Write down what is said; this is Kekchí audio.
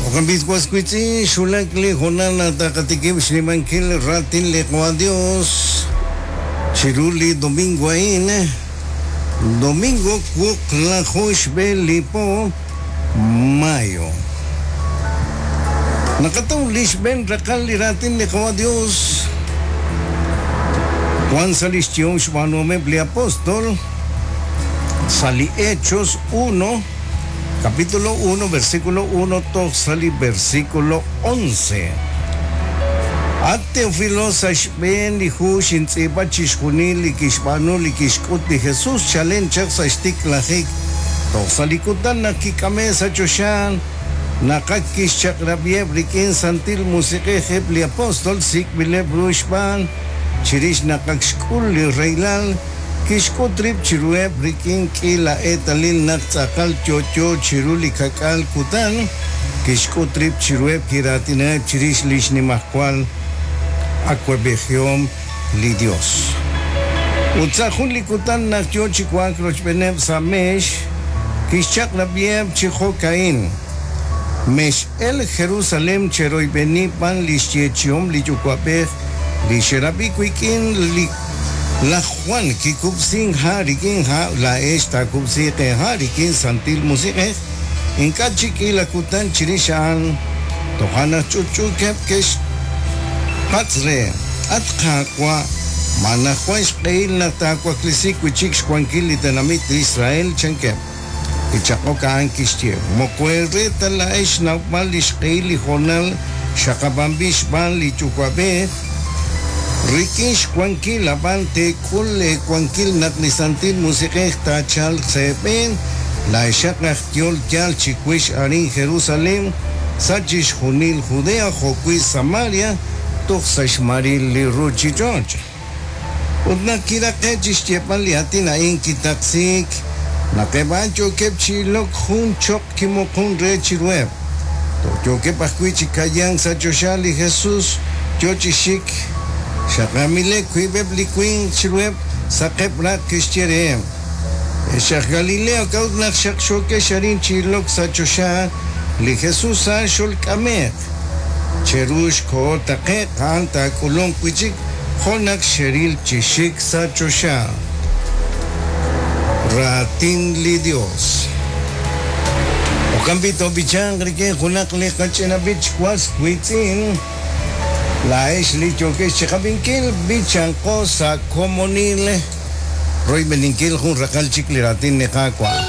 Jo'kan b'i' was wiitz'in, xwulak li hoonal naq taqatikib' xnimankil raatin li Qawa' Dios chiru li domingo a'in, domingo wuqlaju xb'e li po mayo. Naqataw li xb'een raqal li raatin li Qawa' Dios wan sa' lix yehom xb'aanuhomeb' li apostol sa' li Hechos 1, Capítulo 1, versículo 1 toj sa' li versículo 11. At Teofilo, sa' xb'een li hu xintz'iib'a chixjunil li kixb'aanu li kixk'ut li Jesus chalen chaq sa' xtiklajik toj sa' li kutan naq kik'ame' sa' choxa, naq ak kixchaq'rab'iheb' rik'in Santil Musiq'ej eb' li apóstol sik'b'ileb' ru xb'aan, chirix naq ak xk'ul li rahilal, Kixk'ut rib' chiruheb' rik'in k'iila eetalil naq tz'aqal yo'yo chiru li ka'k'aal kutan, kixk'ut rib' chiruheb' kiraatinaheb' chirix li xnimajwal awab'ejihom li Yos. Ut sa' jun li kutan naq yo chi wa'ak rochb'eeneb' sa' meex, kixchaq'rab'iheb' chi jo'ka'in, Mex'elk Jerusalén cheroyb'eni b'an li xyeechi'om li Yuwa'b'ej li xerab'i wik'in li Laj Jwan kikub'sink ha' rik'in ha', laa'ex taakub'siiq eeha' rik'in Santil Musiq'ej, ink'a' chik k'iila kutan chirix a'an. Toja' naq ch'utch'uukeb' ke'xpatz' re, At Qaawa', ma anaqwan xq'ehil naq taawaklesi wi' chik xwankil li tenamit Israel? chankeb'. Kichaq'ok a'an kixye, Moko eere ta laa'ex xnawb'al li xq'ehil li hoonal xaqab'anb'il xb'aan li Yuwa'b'ej, Rik'in xwankil, ab'an teek'ul eewankil naq li Santil Musiq'ej taachalq sa' eeb'een, laa'exaq aj yehol yaal chiwix arin Jerusalén, sa' chixjunil Judea jo'wi' Samaria, toj sa' xmaril li ruuchich'och'. Ut naq kiraqe'k chi xyeeb'al li aatin a'in, kitaqsiik. Naq eb' a'an yookeb' chi ilok, jun choql kimuqun re chiruheb'. Toj yookeb' ajwi' chi ka'yank sa' choxa li Jesus yo chi xik. Xaqamileb' wiib'eb' li winq chiruheb', saqeb' raq' ke'xye reheb', Ex aj Galileo, k'a'ut naq xaqxookex arin chi ilok sa' choxa? Li Jesus a'an xolk'ame'q. Cheru xkoho taqe'q, a'an taak'ulunq wi' chik jo' naq xeril chi xik sa' choxa. Raatin li Yos. Jo'kan b'i' toob'ichanq rik'in junaq li qach'ina b'ich was wiitz'in. Laa'ex li yookex chiqab'inkil, b'ichanqo sa' komonil royb'eninkil jun raqal chik li raatin li Qaawa'.